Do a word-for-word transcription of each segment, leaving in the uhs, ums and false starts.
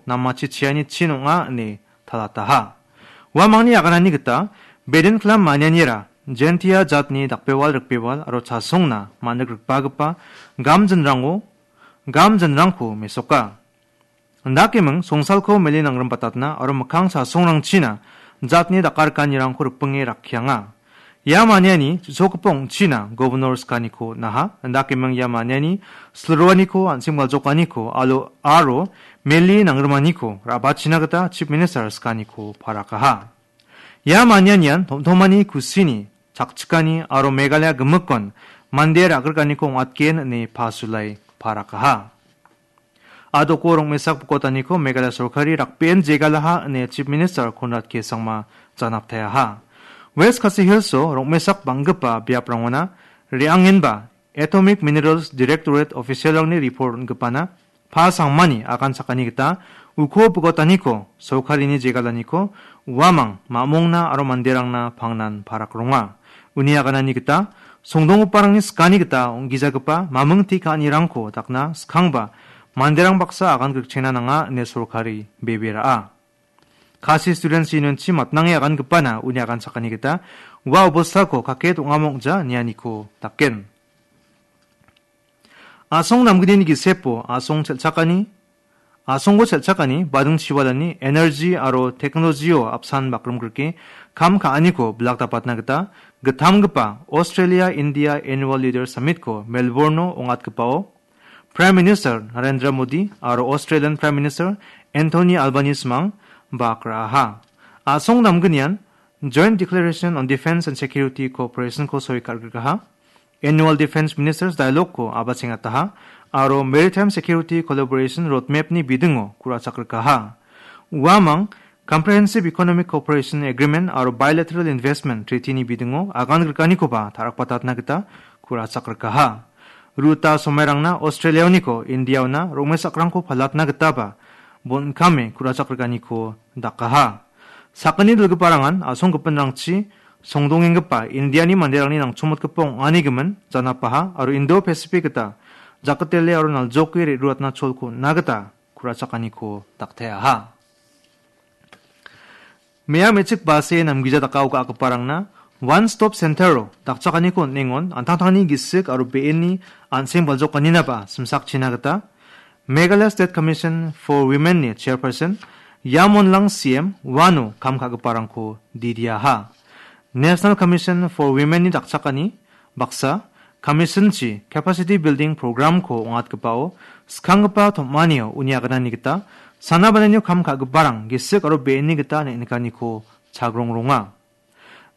namachi chiani chin ong·a ine talataha. Uamangni aganani gita, bedin klam manianira, Jaintia jatni dakbewal rikbewal aro chasongna manrik rikbagipa gamjinrango, gamjinrangko mesoka. Indakeming songsalko mele nangrimbatatna aro mikkang chasongrangchina jatni dakarikanirangko ripinge rakkianga. Ia maniani chisokgipa ong·china governor skaniko naha, indakeming ia maniani silroaniko an·seng baljokaniko alo aro mele nangrimaniko ra·bachina gita chief minister skaniko parakaha. Ia manianian tom·tomani kusini chakchikani aro Meghalaya gimikon mande ra·grikaniko ong·atgen ine pasulai parakaha. Adoko rongmesak bokotaniko Meghalaya sorkari rakbeen jegalaha ine Chief Minister Conrad K Sangma janaptayaha. West Khasi Hillso rongmesak bang·gipa biaprangona re·angenba Atomic Minerals Directorate officialrangni report on·gipana pa sangmani agan sakani gita uko bokotaniko sorkarini jegalaniko uamang mamongna aro manderangna pangnan parak ronga. Uni aganani gita songdonggiparangni skani gita ong·gijagipa maming te ka·anirangko dakna skangba manderang baksa agan grikchengna nanga ine sorkari bebe ra·a. Khasi Students Unionchi matnange agangipana uni agan sakani gita ua obostako kake dongamo ong·ja nianiko daken. A·song namgnini gisepo a·song chelchakani, a·songko chelchakani bading chiwalani energy aro technology-o apsan bakrimgrike kam ka·aniko bilak dapatna gita gittamgipa Australia India Annual Leader Summit-ko Melbourne-o ong·atgipao Prime Minister Narendra Modi aro Australian Prime Minister Anthony Albanese-mang bak ra·aha. A·song namgnian Joint Declaration on Defence and Security Cooperation-ko soi kal·grigaha. Annual Defence Ministers Dialogue-ko abachengataha aro Maritime Security Collaboration Roadmap-ni bidingo ku·rachakgrikaha. Uamang Comprehensive Economic Cooperation Agreement aro Bilateral Investment Treaty-ni bidingo agan grikanikoba tarakbatatna gita ku·rachakgrikaha. Ruta somairangna Australia-oniko India-ona rongmesakrangko palatna gitaba bon·kame ku·rachakgrikaniko dakaha. Sakgni dilgiparangan a·songgipinrangchi songdongenggipa Indiani manderangni nangchomotgipa ong·ani gimin janapaha aro Indo-Pacific gita jakatele aro naljoke re·ruatna cholko on·na gita ku·rachakaniko dakteaha. Mea me·chik base namgija dakao ga·giparangna One Stop Center-o dakchakaniko on·engon, an·tangtangni gisik aro be·enni an·seng baljokaninaba simsakchina gita Meghalaya State Commission for Women-ni chairperson Yam Wonlang C M uano kam ka·giparangko didiaha. National Commission for Women-ni dakchakani baksa, Commission-chi Capacity Building Program-ko ong·atgipao skanggipa tom·anio uni aganani gita sana bananio kam ka·giparang gisik aro be·enni gita neng·nikaniko chagrongronga.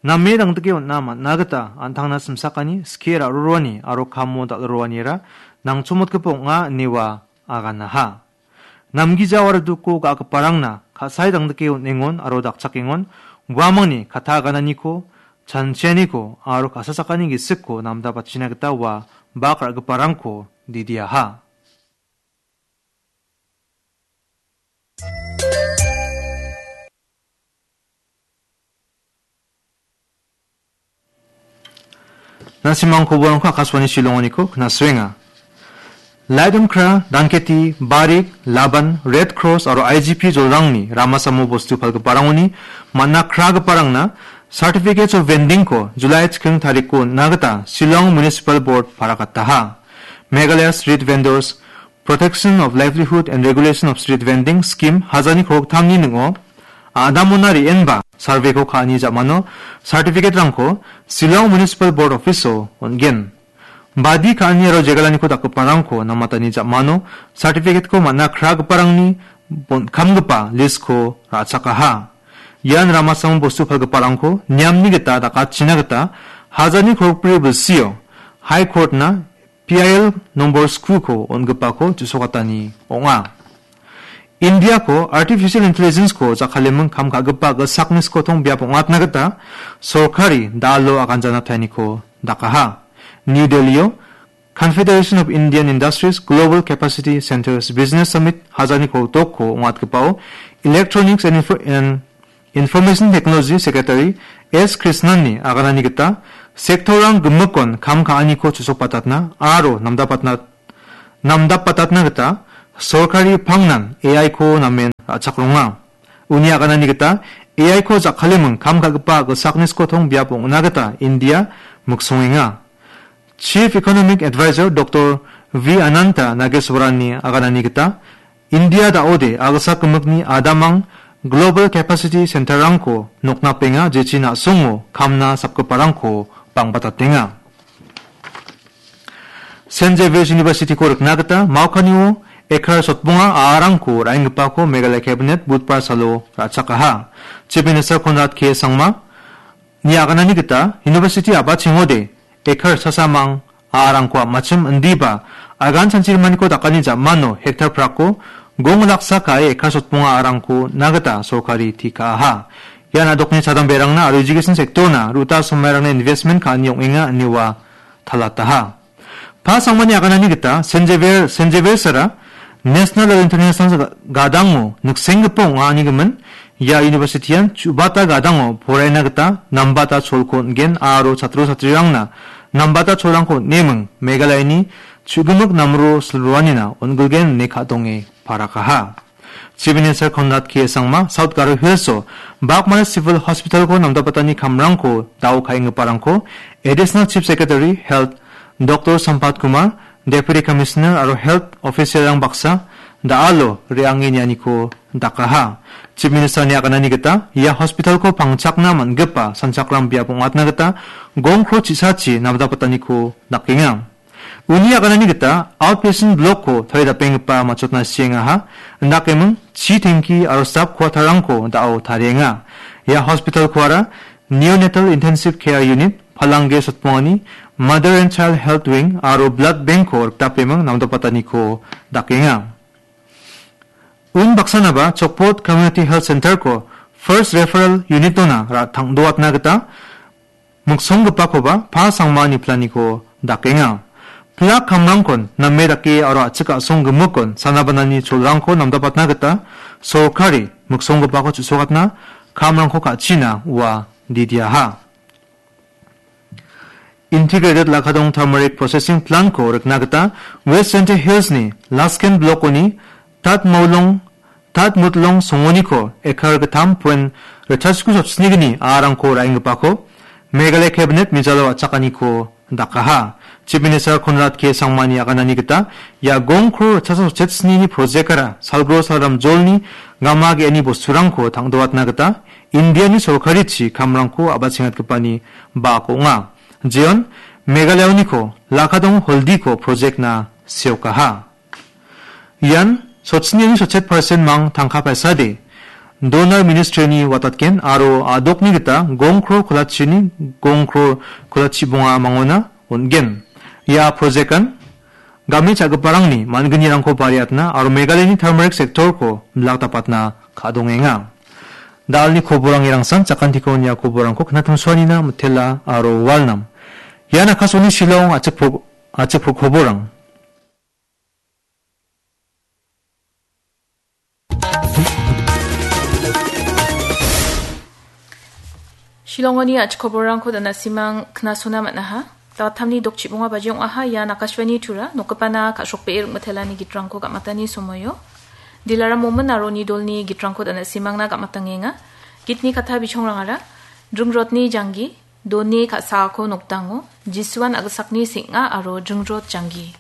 Name dangdike on·na man·a gita an·tangna simsakani, skie ra·roroani aro kamo dal·roroaniara nangchomotgipa ong·a ine ua aganaha. Namgija aro duko ga·giparangna ka·sae dangdike on·engon aro dakchakengon, uamangni kata agananiko, chanchianiko aro ka·sa sakani gisikko namda batchina gita ua bak ra·giparangko didiaha. Na·simang koborangko Akashvani Shillongoniko knasrenga. Laidum Kra, Danketi, Barik, Laban, Red Cross aro I G P jolrangni ramasamo bostu palgiparangoni man·a kragiparangna Certificates of Vending-ko July chiking tariko on·na gita Shillong Municipal Board parakataha. Meghalaya Street Vendors Protection of Livelihood and Regulation of Street Vending Scheme hajani kroktamni ning·o, a·damona re·enba survey-ko ka·ani ja·mano certificate-rangko Shillong Municipal Board Office-o on·gen. Badi ka·ani aro jegalaniko dakgiparangko namatani ja·mano certificate-ko man·a kragiparangni bon-, kamgipa list-ko ra·chakaha. Ian ramasamo bostu palgiparangko niamni gita dakatchina gita hajani krokbri bilsio High Court-na P I L nombor skuko on·gipako ju·sokatani ong·a. Indiako Artificial Intelligence-ko jakkaleming kam ka·gipa gisakni skotong biap ong·atna gita sorkari dalo aganjana taeniko dakaha. New Delhi-o Confederation of Indian Industries Global Capacity Centers Business Summit hajani koltokko ong·atgipao Electronics and Info-, and Information Technology Secretary S Krishnan-ni aganani gita, sektorrang gimikon kam ka·aniko chusokbatatna aro namdapatna-, namdapbatatna gita sorkari pangnan A I-ko namen ra·chakronga. Uni aganani gita A I-ko jakkaleming kam ka·gipa a·gilsakni skotong biap ong·na gita India miksongenga. Chief Economic Advisor Doktor V Ananta Nageswarani aganani gita, India da·ode a·gilsak gimikni adamang Global Capacity Center-rangko noknapenga, jechi na·songo kamna sapgiparangko bangbatatenga. Saint Xavier's University-ko rikna gita Maukanio ekar sotbonga a·arangko ra·enggipako Meghalaya Cabinet Budbar salo ra·chakaha. Chief Minister Conrad K Sangma ni aganani gita University a·bachengode ekar sasamang a·arangko a·machim indiba agan chanchirimaniko dakani jamano hektar prako gong laksa ka·e ekar sotbonga a·arangko na gita sorkari tikaha. Ian a·dokni chadamberangna aro education sector-na ruta somairangna investment ka·ani ong·enga ine ua talataha. Pa Sangmani aganani gita Saint Xavier, Saint Xavier's-ara National aro International ga-, gadango niksenggipa ong·a anigimin, ia university-an chu·bata gadango poraiana gita nambata cholko on·gen aro chatro chatrirangna nambata cholrangko on·eming Meghalayani chu·gimik namro silroanina on·gilgen ine ka·donge parakaha. Chief Minister Conrad K Sangma South Garo Hills-o Bagmati Civil Hospital-ko namdapatani kamrangko da·o ka·enggiparangko Additional Chief Secretary Health Doktor Sampat Kumar, Deputy Commissioner aro Health Official-rang baksa da·alo re·ange nianiko dakaha. Chief Minister-ni aganani gita ia hospital-ko pangchakna man·gipa sanchakram biap ong·atna gita gongkro chisachi namdapataniko dakenga. Uni aganani gita outpatient block-ko taridapenggipa matchotna siengaha, indakeming chi tengki aro staff quarter-rangko da·o tarienga. Ia hospital-koara Neonatal Intensive Care Unit, palangge sotbongani Mother and Child Health Wing aro Blood Bank-ko rikdapeming namdapataniko dakenga. Unbaksanaba Chokpot Community Health Center-ko First Referral Unit-ona ra-, tangdoatna gita miksonggipakoba Pa Sangma niplaniko dakenga. Plak kamrangkon name dake aro a·chik a·song gimikon sanabanani cholrangko namdapatna gita sorkari miksonggipako chu·sokatna kamrangko ka·china ua didiaha. Integrated Lakadong Turmeric Processing Plant-ko rikna gita West Jaintia Hills-ni Lasken Block-oni Tat Maulong, Tat Mutlong songoniko ekar gittam point ritchasku sotsinigni a·arangko ra·enggipako Meghalaya Cabinet mijalo a·chakaniko dakaha. Chief Minister Conrad K Sangmani aganani gita ia gongkro ritchasa sotchet snini project-ara salgro salram jolni gama ge·ani bosturangko tangdoatna gita Indiani sorkarichi kamrangko a·bachengatgipani bak ong·a. Jeon Meghalayaoniko Lakadong Holdiko project-na seokaha. Ian sotchiniani sotchet percent mang tangka paisade Donor Ministry-ni watatgen aro a·dokni gita gongkro kolachini gongkro kolachi bonga mangona on·gen. Ia project-an game cha·giparangni man·gnirangko bariatna aro Meghalayani turmeric sector-ko bilak dapatna ka·dongenga. Da·alni koborang irangsan, jakantiko nia koborangko knatimsuanina mitela aro walnam. Ian Akashvani Shillong a·chik pro-, a·chik pro-, koborang. Shillongoni a·chik koborrangko danasimang knasona man·aha. Datamni dokchibonga baji ong·aha. Ian Akashvani Tura, nokgipana ka·srokbee ring·mitelani gitrangko gam·atani somoio. Dilaram Momin aro uni dolni gitrangko danasimangna gam·atangenga. Gitni katta bichongrangara, Dringrotni Janggi, Doni ka·saako nokdango, Jisuan a·gilsakni seng·a aro Dringrot Janggi.